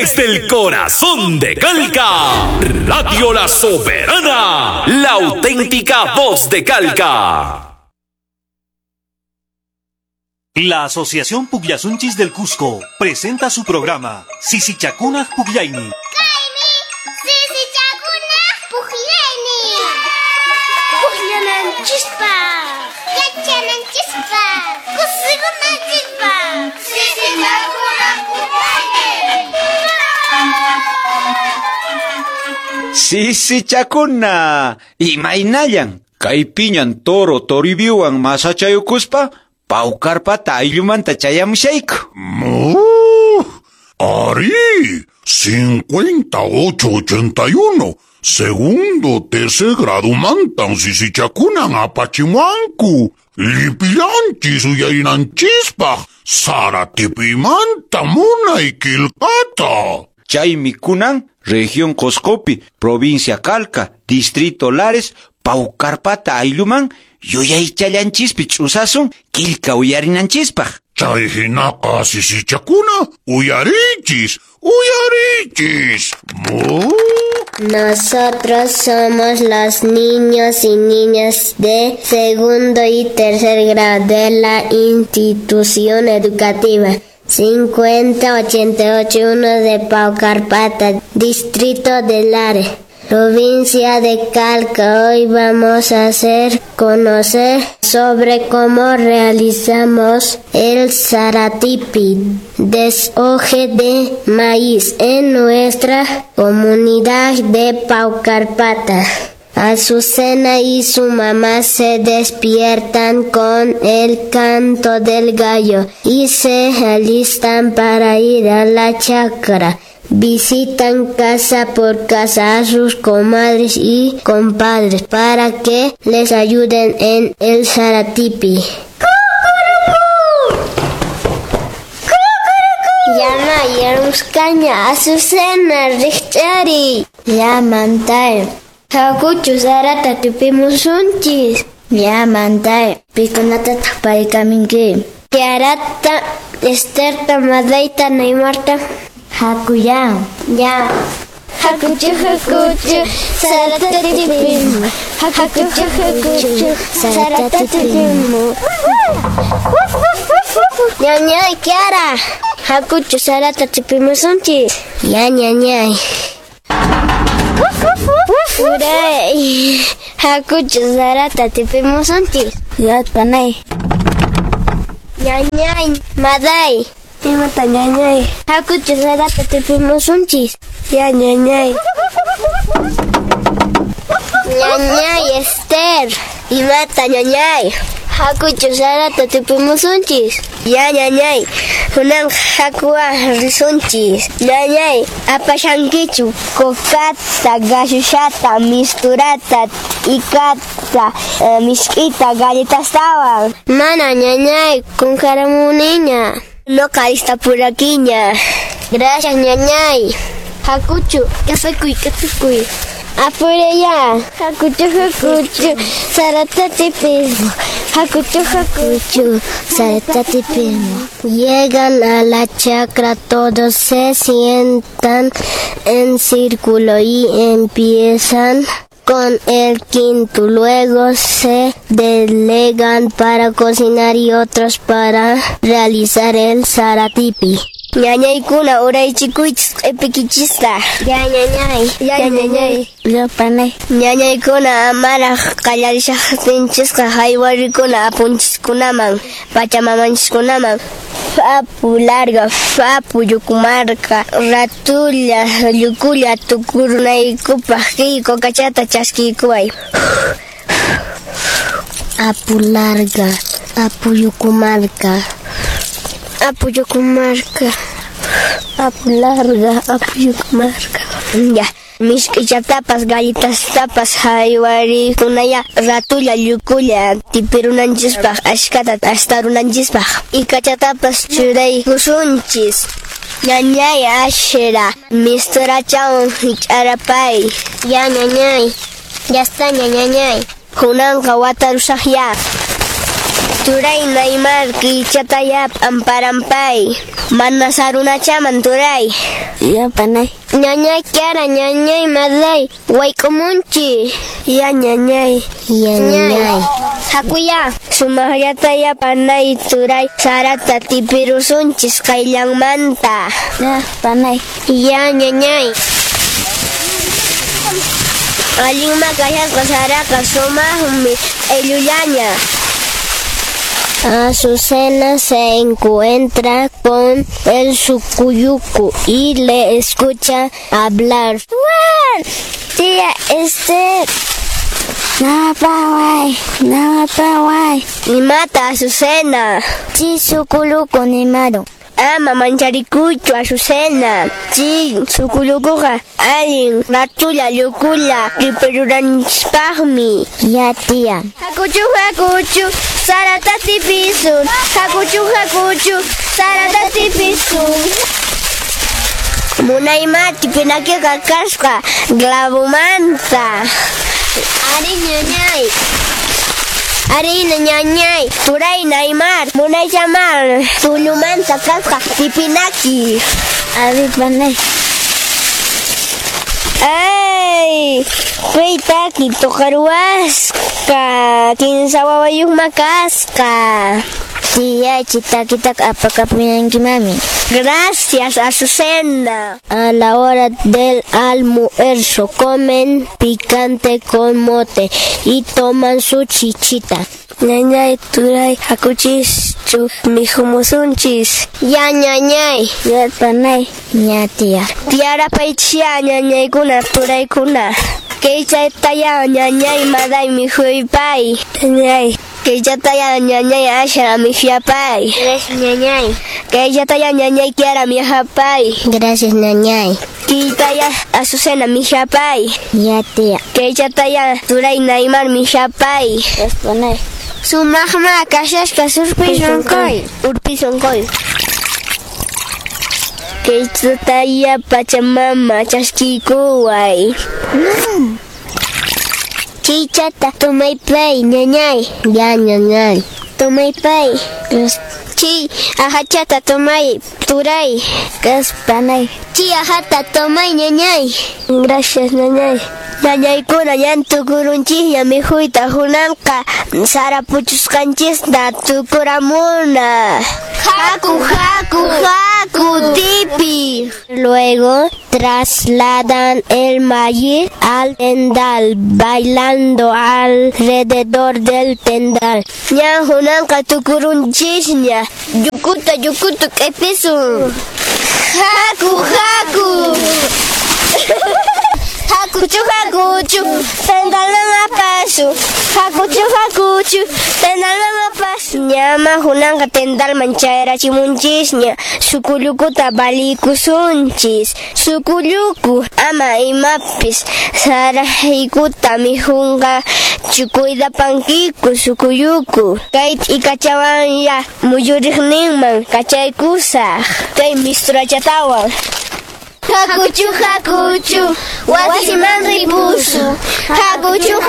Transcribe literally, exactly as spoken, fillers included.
Desde el corazón de Calca, Radio La Soberana, la auténtica voz de Calca. La Asociación Pugllasunchis del Cusco presenta su programa Sisichacuna Pugllayni. Sisichakuna, imaynallan, kaypiñan toro toribiwan masachayukuspa, Paucarpata ayllumanta chayamushayku. ¡Mu! ¡Ari! cincuenta ocho ochenta y uno. Segundo tercer grado mantan sisichakunan apachimuanku. Lipillanchis uyarinanchispaq, Saratipimanta munay qillqata. Chaymi kunan, región Coscopi, provincia Calca, distrito Lares, Paucarpata aylluman, yuyaychallanchispi ch'usasun qillqa uyarinanchispaq. Chay hinaqa sisichakuna, uyarichis, uyarichis. ¡Mu! Nosotros somos los niños y niñas de segundo y tercer grado de la institución educativa cincuenta ochenta y ocho uno de Paucarpata, distrito de Lares, provincia de Calca. Hoy vamos a hacer conocer sobre cómo realizamos el saratipi, deshoje de maíz, en nuestra comunidad de Paucarpata. Azucena y su mamá se despiertan con el canto del gallo y se alistan para ir a la chacra. Visitan casa por casa a sus comadres y compadres para que les ayuden en el saratipi. Llama yaruscaña, Azucena, richari. Llaman Hakuchu sarata tupimusunchis. Yamantay, pikunata paykaminki. Kiarata, Esterta, Madaita, Neymarta. Hakuya. Ya. Hakuchu, hakuchu, sarata tupimu. Hakuchu, hakuchu, sarata tupimu. Ñañay, Kiara. Hakuchu sarata tupimusunchis. Ya, ñañay. Uray, hakuchu sarata tipimusunchis. Ya, panay. Ñañay, maday. Imata ñañay. Hakuchu sarata tipimusunchis. Ya, ñañay. Ñañay, Esther. Imata ñañay. Hakuchu sarata tipimusunchis. Ya, ñañay. Hunan hakua risunchis. Ñañay, apashankichu kokata, gashushata, misturata, ikata, eh, miskita, galletastawan. Mana ñañay, kunkaramuniña. No carista puraquiña. Gracias, ñañay. Hakuchu, kasukuy, kasukuy. Apure ya. Hakuchu, hakuchu, sarata tipismo. Hakuchu, hakuchu, sarata tipismo. Llegan a la chacra, todos se sientan en círculo y empiezan con el quinto. Luego se delegan para cocinar y otros para realizar el saratipi. Ñañaykuna uraychikuychis q'ipikichista. Ya ñañay, ya ñañay. Ya panay. Ñañaykuna amaraq qallarishaqtinchisqa haywarikuna apunchiskunaman, pachamamanchiskunaman. Apu larga, apu yukumarka, ratulla, llukulla tukurunaykupaq kay kokachata chaskiykuway. Apu larga, apu yukumarka. Apu yukumarka, apu larga, apu yukumarka. Ya, misk'ichatapas, galletastapas haywarikunaya ratulla llukulla tipirunanchispaq, ashkata astarunanchispaq. Ikachatapas churaykusunchis. Ñañay ashra, misturachawan hich'arapay. Ya ñañay, ya está ñañañay. Kunanqa watarusaqya. Turay Neymar kichataya amparampay. Mana sarunachaman turay. Ya panay. Ñañay Kiara, ñañay Maday, wayk'umunchis. Ya ñañay. Ya ñañay. Hakuya, sumaqllataya panay turay sarata tipirusunchis qayllanmanta. Ya panay. Ya ñañay. Allinma kashasqa saraqa sumaqmi q'illullaña. Azucena se encuentra con el sucuyucu y le escucha hablar. ¡Guau! Tía Esther. Nawapaway, nawapaway. Nimata Azucena. Chi sukuluku nimaru. Ama mancharikuychu Azucena. Chi sukulukuqa allin ratulla llukulla ripiruranchispaqmi. Ya tía. Hakuchu hakuchu sarata tipisun. Hakuchu hakuchu sarata tipisun. Munayma tipinakiqa kasqa clavomanta. Ari ñañay. Ari ñañay, turay Neymar, munaychamar, tullumanta kasqa tipinaki. Ari panay. Ay, paytaki tuqaruwasqa, kinsa wawayuqma kasqa. Tía, chitakitaq apakapuyanki mami. Gracias, Azucena. A la hora del almuerzo comen picante con mote y toman su chichita. Ñañay, turay, hakuchischu, mikhumusunchis. Ya ñañay. Ya panay. Ya tía. Tiarapaychia ñañaykuna, turaykuna. Kaychataya ñañay maday mikhuypay. Ñañay. Kaychataya ñañay asha mikhuyapay. Gracias ñañay. Kaychataya ñañay Kiara mikhapay. Gracias ñañay. Kaytaya Azucena mikhapay. Ya tía. Kaychataya turay Neymar mikhapay. Gracias panay. Sumaqma kashasqa surpi sunquy. Urpi sunquy. Kaychataya Pachamama chaskikuway. Mm. Chichata tomaypay ñañay. Ya ñañay. Tomaypay. Chi ajachata tomay turay. Gracias panay. Chi ajata tomay ñañay. Gracias ñañay. Ñañaykuna ñan tukurunchisña mikhuyta hunanqa sara puchusqanchista tukuramuna. Haku haku haku tipi. Luego trasladan el maíz al tendal, bailando alrededor del tendal. Ñan hunanqa tukurunchisña. Yukuta yukuta q'ipisun. Haku haku. Hakuchu hakuchu, tendalman apasu. Hakuchu hakuchu, tendalman apasu. Ñama hunanqa tendalman chayrachimunchisña. Sukullukuta balikusunchis. Sukulluku ama imapis saraykuta mikhunqa chukuydapankiku sukulluku. Kay t'ikachawan muyuriqninman kachaykusaq. Kay misturachatawan. Hakuchu hakuchu, wasiman ripusu. Hakuchu